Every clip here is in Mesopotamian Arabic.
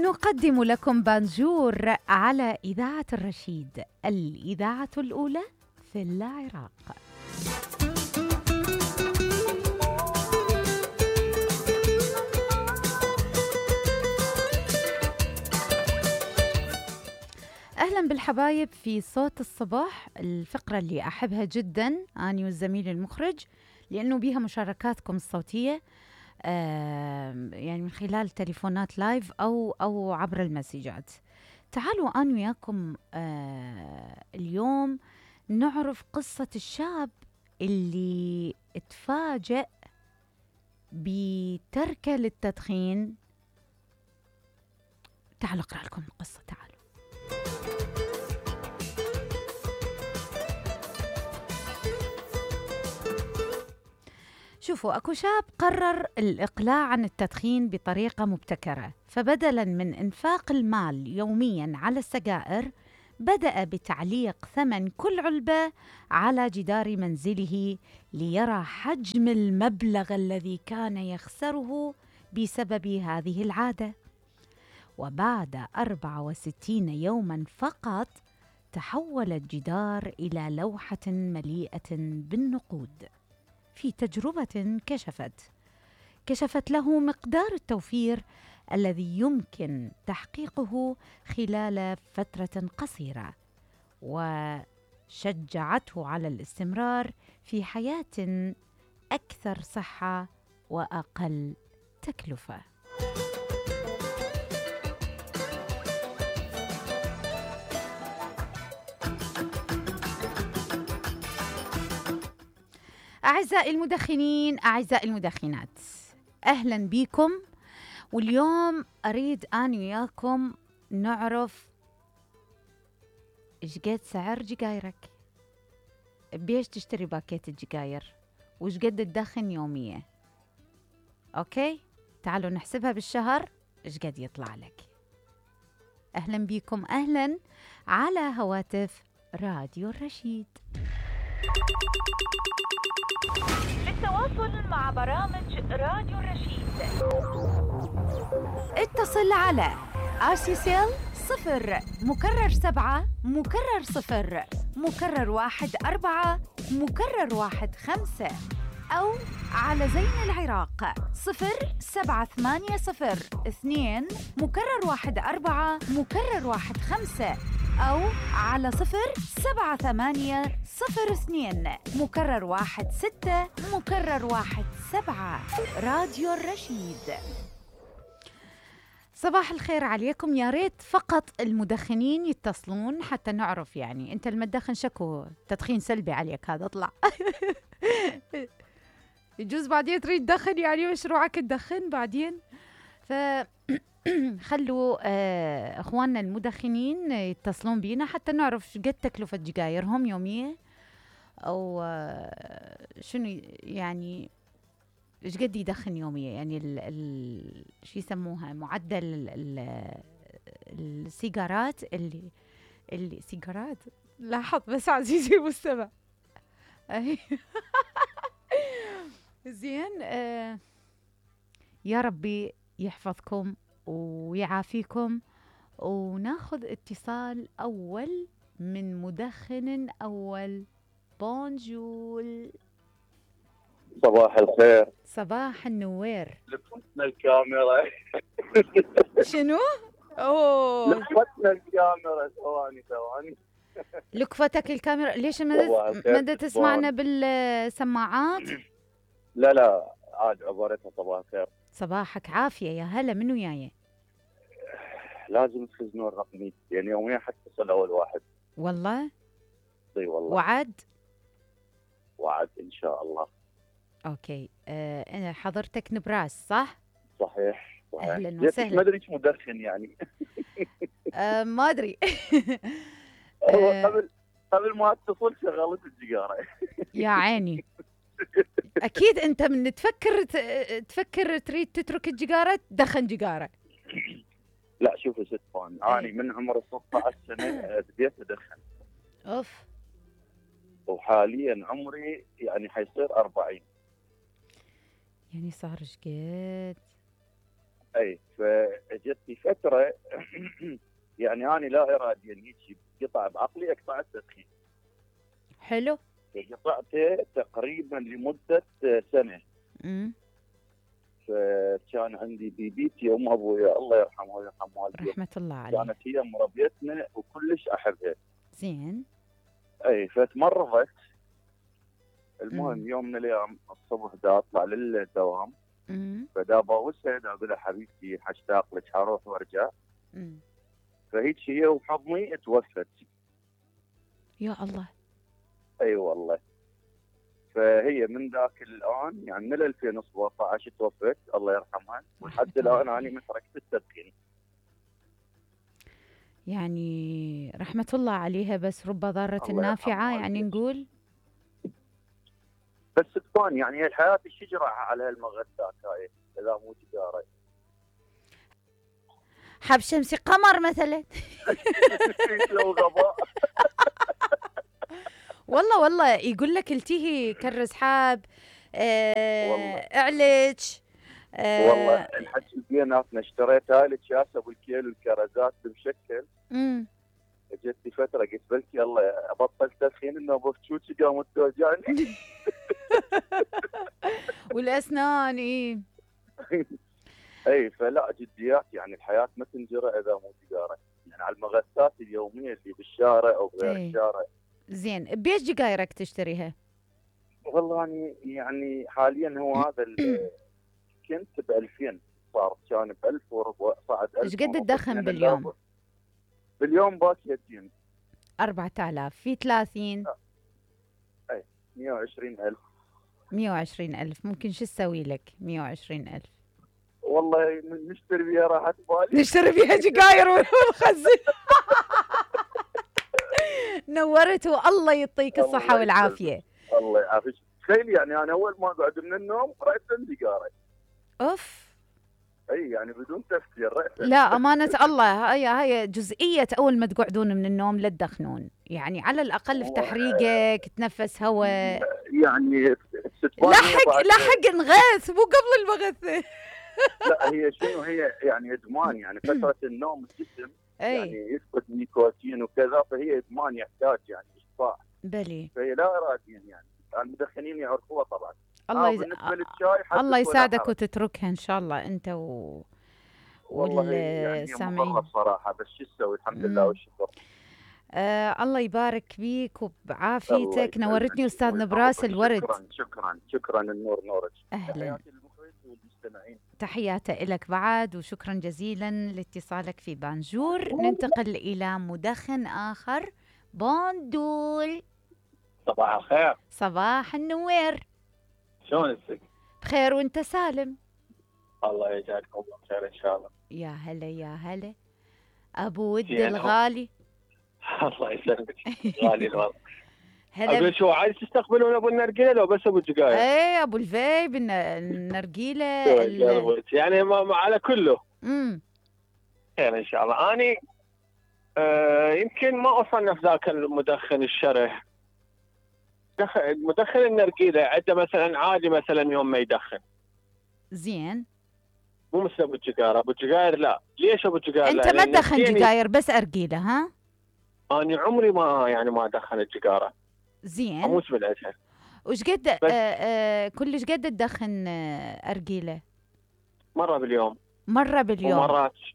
نقدم لكم بانجور على إذاعة الرشيد، الإذاعة الأولى في العراق. أهلا بالحبايب في صوت الصباح، الفقرة اللي أحبها جدا أنا والزميل المخرج، لأنه بيها مشاركاتكم الصوتية يعني من خلال تليفونات لايف أو عبر المسجات. تعالوا أنا وياكم اليوم نعرف قصة الشاب اللي اتفاجأ بتركه للتدخين. تعالوا أقرأ لكم القصة. تعالوا. شوفوا، أكو شاب قرر الإقلاع عن التدخين بطريقة مبتكرة، فبدلاً من إنفاق المال يومياً على السجائر بدأ بتعليق ثمن كل علبة على جدار منزله ليرى حجم المبلغ الذي كان يخسره بسبب هذه العادة. وبعد 64 يوماً فقط تحول الجدار إلى لوحة مليئة بالنقود. في تجربة كشفت له مقدار التوفير الذي يمكن تحقيقه خلال فترة قصيرة، وشجعته على الاستمرار في حياة أكثر صحة وأقل تكلفة. أعزائي المدخنين، أعزائي المدخنات، أهلاً بكم. واليوم أريد أنا وياكم نعرف إيش قد سعر جقايرك، بيش تشتري باكيت الجقاير، وإيش قد تدخن يومية. أوكي، تعالوا نحسبها بالشهر إيش قد يطلع لك. أهلاً بكم، أهلاً على هواتف راديو الرشيد. للتواصل مع برامج راديو الرشيد اتصل على RCCL 0 مكرر 7 مكرر 0 مكرر 1 4 مكرر 1 5، أو على زين العراق 07802 مكرر 1 4 مكرر 1 5، أو على 07802 مكرر 1 6 مكرر 1 7. راديو الرشيد. صباح الخير عليكم. يا ريت فقط المدخنين يتصلون حتى نعرف، يعني أنت المدخن شكو تدخين سلبي عليك، هذا اطلع. يجوز بعدين تريد تدخن، يعني مشروعك تدخن بعدين. خلوا اخواننا المدخنين يتصلون بينا حتى نعرف قد تكلفة جقايرهم يومية، او شنو يعني ايش قد يدخن يوميا، يعني شو يسموها معدل السيجارات اللي سيجارات. لاحظ بس عزيزي المستمع. زين. يا ربي يحفظكم ويعافيكم. وناخذ اتصال أول من مدخن أول. بونجول. صباح الخير. صباح النوير. لفتنا الكاميرا. شنو؟ أوه، لفتنا الكاميرا. ثواني. لكفتك الكاميرا. ليش ما تسمعنا بالسماعات؟ لا عاد عبارتها صباح الخير. صباحك عافية، يا هلا، من وياي؟ لازم تخزنون رقمي، يعني يوميا حتصل أول واحد. والله؟ اي والله. وعد إن شاء الله. أوكي. أنا حضرتك نبراس صح؟ صحيح. أهلا وسهلا. ما أدري إيش مدخن يعني. ما أدري. قبل ما اتصل شغلت السيجارة. يا عيني. أكيد أنت من تفكر تريد تترك السيجارة تدخن سيجارة. لا شوفي ست فان، أنا من عمر 16 سنة بديت أدخن. أوف. وحاليا عمري يعني حيصير 40. يعني صار ايش قد؟ اي فاجتني فتره يعني انا لا اراديا هيك قطع بعقلي اقطع التدخين. حلو. قطعته تقريبا لمده سنه. امم. فكان عندي بيبيتي ام ابويا الله يرحمها ويرحم والديها، رحمة الله عليه. كانت هي مربيتنا وكلش احبها. زين. اي فتمرضت. المهم يوم من الايام الصبح دا اطلع للدوام، فدا باوسها دا اقول لها حبيبتي حاشتاق لك حروح وارجع. فهيك هي وحضني توفت. يا الله. اي والله. فهي من ذاك الان يعني من 2017 توفت الله يرحمها، ولحد الان انا ما تركت التدخين. يعني رحمة الله عليها، بس رب ضارة نافعة يعني نقول. بس تكون يعني الحياة الشجرة على هالمغذات هاي اذا مو تجارة. حب شمسي قمر مثلا. لو غباء. والله يقول لك التهي كرز حاب اعلج. والله الحكي بيناتنا اشتريت هاي الكاسه بالكيلو الكرزات بمشكل. اجتني فتره قلت بلكي يلا ابطل تدخين انه بفتشوتي قامت توجعني. والاسنان اي. اي فلا جديات يعني الحياه ما تنجرى اذا مو تجاره، يعني على المغثات اليوميه اللي بالشارع او غير الشارع. زين بيش جايرك تشتريها؟ والله يعني حاليا هو هذا كنت ب 2000 صار، كان ب 1000 وربع صعد 1000. ايش قد تدخن باليوم؟ باليوم باكيتين 4000 في 30. اي 120,000. 120,000 ممكن شو تسوي لك 120,000؟ والله نشتري بيها راحت بالي. نشتري بيها جقاير ونخزن. نورته الله يعطيك الصحة والعافية. الله يعافيك. تخيل يعني انا اول ما اقعد من النوم رأيت سيجاره. اوف. اي يعني بدون تفكير رأيت. لا امانة الله هاي جزئية اول ما تقعدون من النوم لا تدخنون، يعني على الاقل افتح ريقك تنفس هواء. يعني لحق نغث مو قبل المغثة. لا هي شنو هي يعني ادمان، يعني فترة النوم الجسم يعني يفقد نيكوتين وكذا، فهي ادمان يحتاج يعني اشباع. بلي. فهي لا اراديا يعني المدخنين يعرفوها طبعا. الله يساعدك وتتركها ان شاء الله انت والسامعين. والله صراحة بس شو تسوي الحمد لله والشكر. الله يبارك بيك وبعافيتك. نورتني استاذ نبراس الورد. شكرا النور نورك. اهلا. تحياتي لك بعد وشكرا جزيلا لاتصالك في بانجور. ننتقل الى مدخن اخر بوندول. صباح الخير. صباح النوير. شلونك؟ بخير وانت سالم؟ الله يجعلكم بخير ان شاء الله. يا هلا يا هلا ابو ود الغالي. الله يسلمك. غالي الوضع. اقول شو عايز تستقبلون ابو النرجيله لو بس ابو الجقاير؟ ايه ابو الفيب النرجيله يعني ما على كله. خير ان شاء الله. اني يمكن ما اصنف ذاك المدخن الشره. مدخن النرجيله عنده مثلا عادي مثلا يوم ما يدخن. زين. مو مثل ابو الجقاير. ابو الجقاير لا. ليش ابو الجقاير؟ انت ما تدخن جقاير بس ارجيله ها؟ اني عمري ما ادخن الجقاره. زين. اموت بالعشاء. وش قد كلش قد تدخن ارجيله؟ مره باليوم.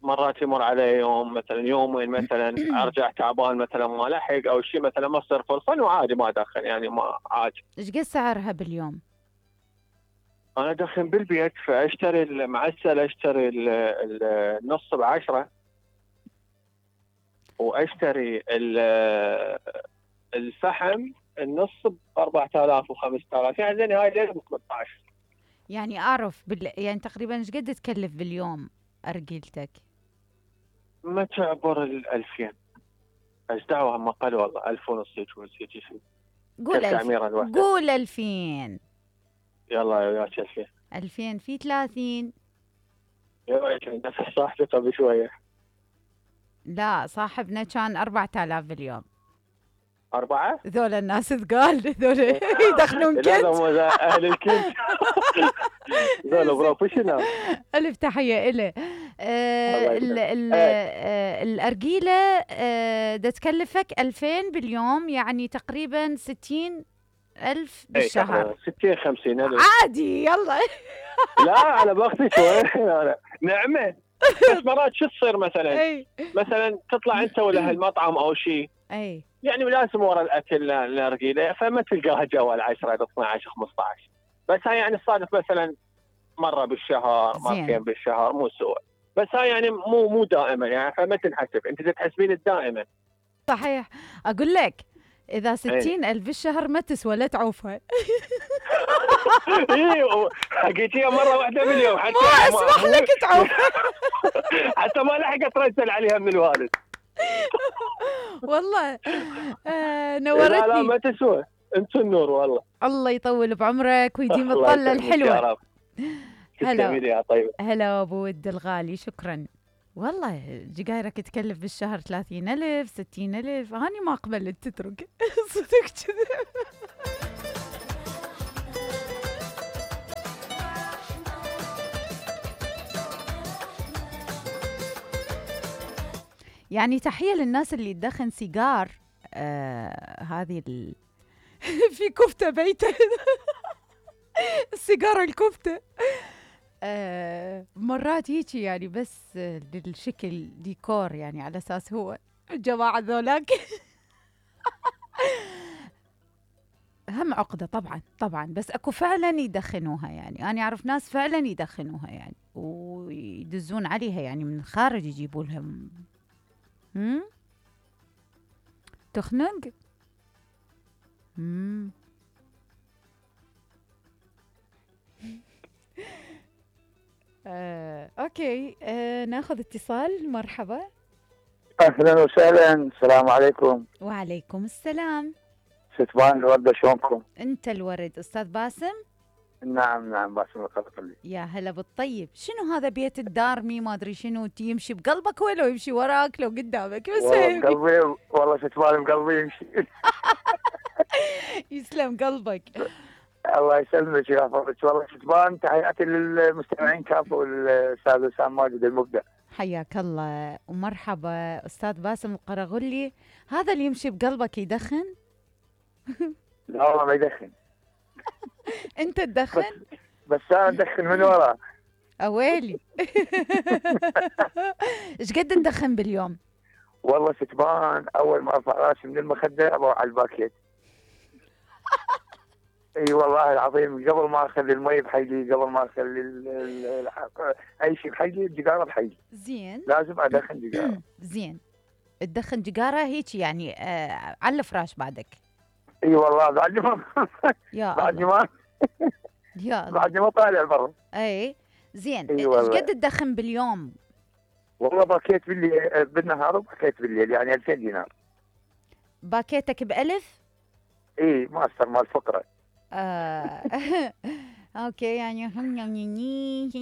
مرات يمر علي يوم مثلا يومين مثلا ارجع تعبان مثلا ما لحق او شيء مثلا ما تصير فرصه وعادي ما ادخن يعني ما عادي. ايش قد سعرها باليوم؟ انا ادخن بالبيت فاشتري المعسل اشتري النص ب10 واشتري الفحم النص ب4000 و5000 يعني زين هاي ليله ب 18. يعني اعرف يعني تقريبا ايش قد تكلف باليوم ارجيلتك؟ ما تعبر 2000. ايش دعوه هم قال والله 1000 ونص هيك شيء. قول 2000. يلا وياك 2000. 2000 في 30. يا نفس صاحبي قبل شويه. لا صاحبنا كان 4000 باليوم. 4؟ ذولا الناس ثقال ذولا يدخلون كنت. لا اهل الكنت. زين بروفيشنال. ألف تحية إله. الأرجيلة دا تكلفك 2000 باليوم، يعني تقريبا 60,000 بالشهر. 60-50 ألف عادي يلا. لا أنا باخذ شوي نعمة. بس مرات شو تصير مثلا تطلع أنت ولا هالمطعم أو شيء، يعني لازم ورا الأكل الأرجيلة، فما تلقاها جوال 10 12 15. بس هاي يعني صادف مثلا مرة بالشهر، مرتين بالشهر، مو سوء. بس هاي يعني مو دائما يعني، فما تنحسب، انت تحسبين دائما. صحيح. اقول لك اذا 60,000 بالشهر ما تسوى، لا تعوفها. ايوه حكيتيها مرة واحدة باليوم، حتى ما اسمح لك تعوفها. حتى ما لحقت ترسل عليها من الوالد. والله نورتني. لا ما تسوى، انت النور والله. الله يطول بعمرك ويديم الطلة الحلوة. هلا هلا ابو ود الغالي، شكرا. والله جقايرك تكلف بالشهر 30,000 60,000، هاني ما قبلت تترك. صدق كذا. يعني تحية للناس اللي تدخن سيجار. هذه في كفتة بيته. السيجارة الكفتة. مرات هيجي يعني بس للشكل ديكور، يعني على أساس هو الجماعة ذولاك. هم عقدة طبعا، بس أكو فعلا يدخنوها، يعني أنا أعرف ناس فعلا يدخنوها يعني ويدزون عليها، يعني من الخارج يجيبوا لهم. تخنق. اوكي. ناخذ اتصال. مرحبا. اهلا وسهلا. السلام عليكم. وعليكم السلام. ستبان الوردة، شلونكم؟ انت الورد استاذ باسم. نعم باسم القرقلي. يا هلا بالطيب. شنو هذا بيت الدارمي ما ادري شنو، يمشي بقلبك ولا يمشي وراك لو قدامك؟ بس والله بقلبي، والله ستبان بقلبي يمشي. يسلم قلبك. الله يسلمك ويحفظك. والله ستبان، تحياتي للمستمعين كافه والاستاذ وسام ماجد المبدع. حياك الله ومرحبا. استاذ باسم القرغلي، هذا اللي يمشي بقلبك يدخن؟ لا والله ما يدخن. انت تدخن؟ بس انا ادخن من وراه. اويلي. ايش قد تدخن باليوم؟ والله ستبان اول ما ارفع راسي من المخده اروح على الباكيت. اي والله العظيم، قبل ما اخلي المي بحيلي، قبل ما اخلي اي شيء بحيلي، الجيجاره بحيلي. زين. لازم ادخن جيجاره. زين. تدخن جيجاره هيك يعني على الفراش بعدك؟ اي والله بعد ما يا بعد ما يا الله. بعد ما طالع برا. اي زين. ايش قد تدخن باليوم؟ والله باكيت بالنهار وباكيت بالليل، يعني 2000 دينار. باكيتك ب1000؟ اي ماستر مال فقره. اوكي، يعني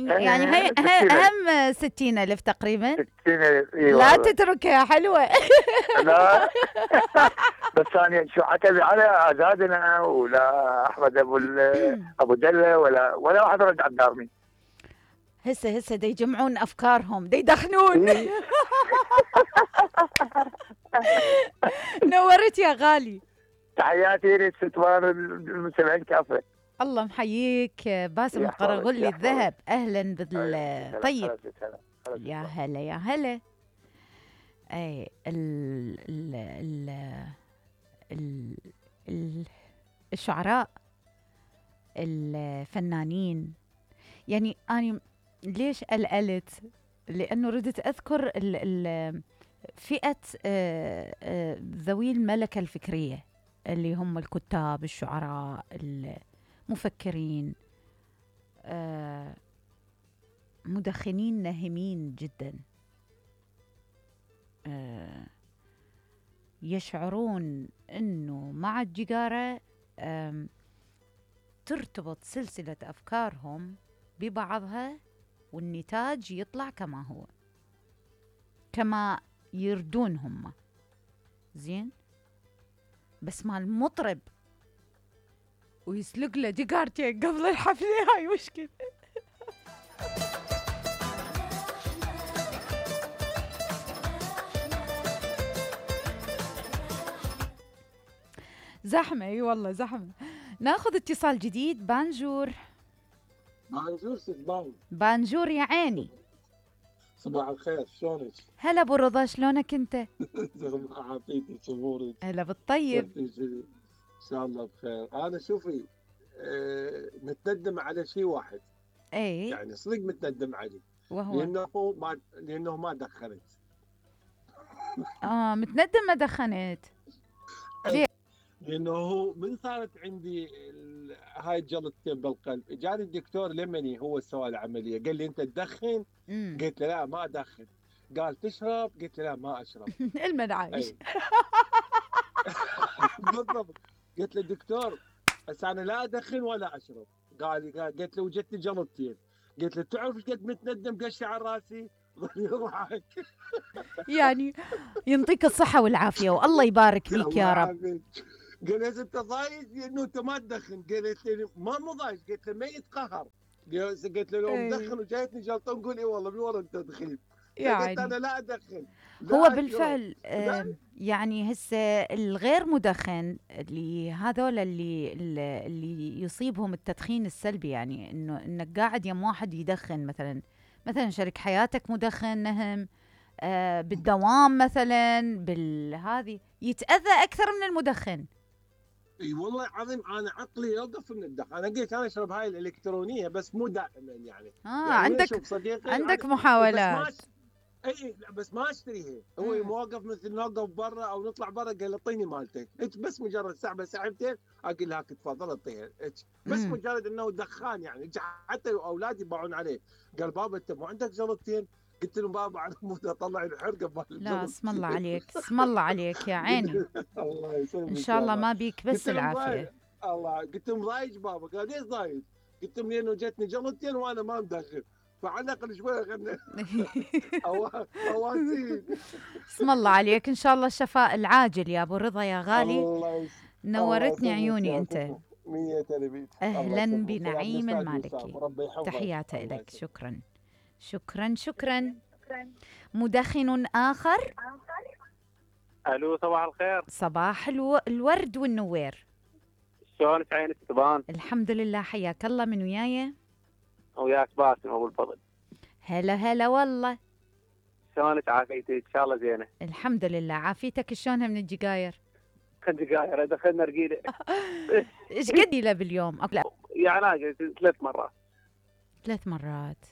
يعني هي اهم 60,000 تقريبا. 60,000 لا تتركها حلوه. لا. بس ثانيا شو عتب على اعدادنا ولا احمد ابو دله ولا واحد رد على الدارمي. هسه دا يجمعون افكارهم، دا يدخنون. نورت يا غالي. تحياتي لك ستوان المستمعين كافه. الله محييك باسم القرغلي الذهب. اهلا بالطيب. يا هلا يا هلا. اي الشعراء الفنانين، يعني أنا ليش قلقلت؟ لأنه ردت أذكر فئة ذوي الملكة الفكرية، اللي هم الكتاب، الشعراء، المفكرين، مدخنين ناهمين جدا، يشعرون أنه مع الجيجارة ترتبط سلسلة أفكارهم ببعضها، والنتاج يطلع كما هو، كما يردون هم. زين. بس مع المطرب ويسلق له دقارتين قبل الحفله. هاي مشكله. زحمه اي والله زحمه. ناخذ اتصال جديد. بانجور. بانجور سبان. بانجور يا عيني. صباح الخير، شلونك؟ هلا ابو رضا، شلونك انت؟ عافيتك امورك؟ هلا بالطيب. ان شاء الله بخير. انا شوفي متندم على شيء واحد. اي يعني صدق متندم عليه. وهو لانه ما دخنت. متندم ما دخنت. ليه؟ لانه هو من صارت عندي هاي الجلطتين بالقلب، جاني الدكتور لمني هو سوى العمليه، قال لي انت تدخن؟ قلت له لا ما ادخن. قال تشرب؟ قلت له لا ما اشرب. المنعايش. بالضبط. قلت له دكتور بس انا لا ادخن ولا اشرب. قلت له وجدتني جلطتين. قلت له تعرف ايش قد متندم قشي على راسي؟ ظل يضحك. يعني يعطيك الصحه والعافيه والله يبارك فيك يا رب. قال لي انت ضايج انه انت ما تدخن؟ قالت لي ما مو ضايج. قلت له ما يتقهر. قلت له لو مدخن وجايتني جلطه نقول اي والله من ورا التدخين. قلت انا لا ادخن. هو بالفعل يعني هسه الغير مدخن اللي هذول اللي يصيبهم التدخين السلبي، يعني انك قاعد يم واحد يدخن، مثلا شريك حياتك مدخن، نهم بالدوام مثلا بالهذه يتاذى اكثر من المدخن. اي والله العظيم انا عقلي يوقف من الدخان. انا قلت انا اشرب هاي الالكترونيه بس مو دائما يعني. عندك محاولات. اي بس ما اشتريها. هو موقف مثل نوقف برا او نطلع برا قال اعطيني مالتك، بس مجرد ساعه ساعتين اقول لك تفضل اعطيها. بس مجرد انه دخان يعني. حتى اولادي يباعون عليه. قال بابا انت مو عندك جلطتين؟ قلت لهم بابا انا مو اطلع الحرقه مال. لا اسم الله عليك، اسم الله عليك يا عيني. الله يسلمك ان شاء الله ما بيك بس العافيه. الله. قلت لهم ضايج بابا؟ قال ليش ضايج؟ قلت لهم لانه جتني جلطتين وانا ما مدخن، فعلى الاقل شويه خلنا اواسين. اسم الله عليك، ان شاء الله الشفاء العاجل يا ابو رضا يا غالي. نورتني عيوني انت. 100 تلبيت. اهلا بنعيم المالكي، تحياتي لك. شكرا شكرا شكرا. مدخن اخر. الو صباح الخير. صباح الورد والنوير. شلونك عينك تبان؟ الحمد لله، حياك الله. من وياي؟ وياك باسم ابو الفضل. هلا هلا والله. شلونك عافيتك؟ ان شاء الله زينه. الحمد لله. عافيتك شلونها من الجقاير؟ الجقاير دخلنا رقيله. ايش قد له باليوم؟ لا يعني 3 مرات. 3 مرات.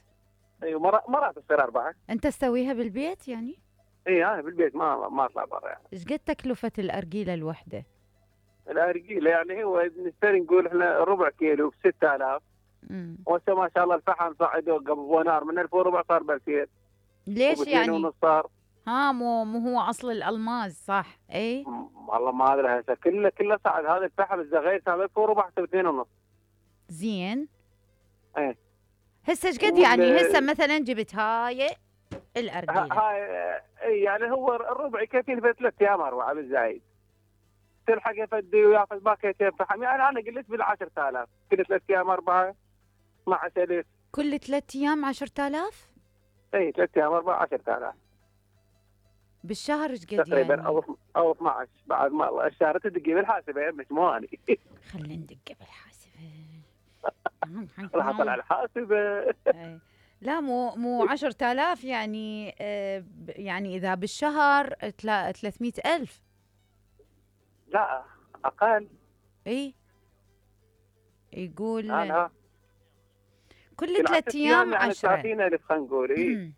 ايوه مرات تصير 4. انت تسويها بالبيت يعني؟ اي انا بالبيت ما اطلع برا يعني. ايش قد تكلفه الارجيله الوحده؟ الارجيله يعني هو نشتري نقول احنا ربع كيلو ب 6000. وهسه ما شاء الله الفحم صعد قبل نار من 1400 صار ب 2000. ليش يعني؟ ونص صار. مو هو اصل الالماس صح؟ اي والله ما ادري هسه كله صعد. هذا الفحم الزغير كان 1400 ب 2.5. زين. ايه هسه ايش قد يعني؟ هسه مثلا جبت هاي الارجيله هاي يعني هو الربع يكفيني في 3 ايام 4 بالزايد. تلحق يفدي وياخذ باكيتين فحم. يعني انا قلت بال 10000 كل 3 ايام 4 12000. كل 3 ايام 10000؟ اي 3 ايام 4 10000 بالشهر. ايش قد تقريبا يعني؟ او 12 بعد ما الشهر تدقي بالحاسبه مش مو اني. خلينا ندق بالحاسبه. راح اطلع الحاسبه. لا مو 10000 يعني. يعني اذا بالشهر 300,000. لا اقل. اي يقول أنا كل 3 ايام 10. 30,000 خلينا نقول. اي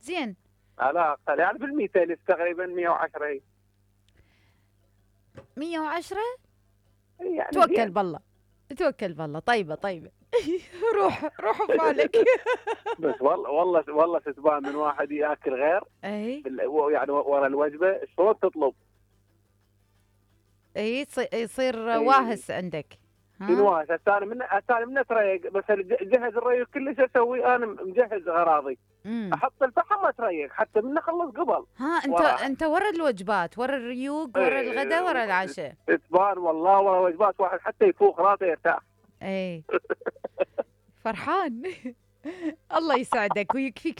زين. لا اقل يعني بال 200,000 تقريبا 110. 110 يعني توكل بالله توكل بالله. طيبه روح ببالك. بس والله ستبان من واحد ياكل غير. اي يعني ورا الوجبه شلون تطلب. اي يصير واهس عندك. واهس. انا من تريق بس جهز الريق كل شيء اسوي انا مجهز اغراضي. احط الفحم واتريق حتى من اخلص قبل. ها انت ورا الوجبات، ورا الريوق، ورا الغداء، ورا العشاء. اثبار والله، ورا وجبات واحد حتى يفوق راسه يرتاح. فرحان. الله يسعدك ويكفيك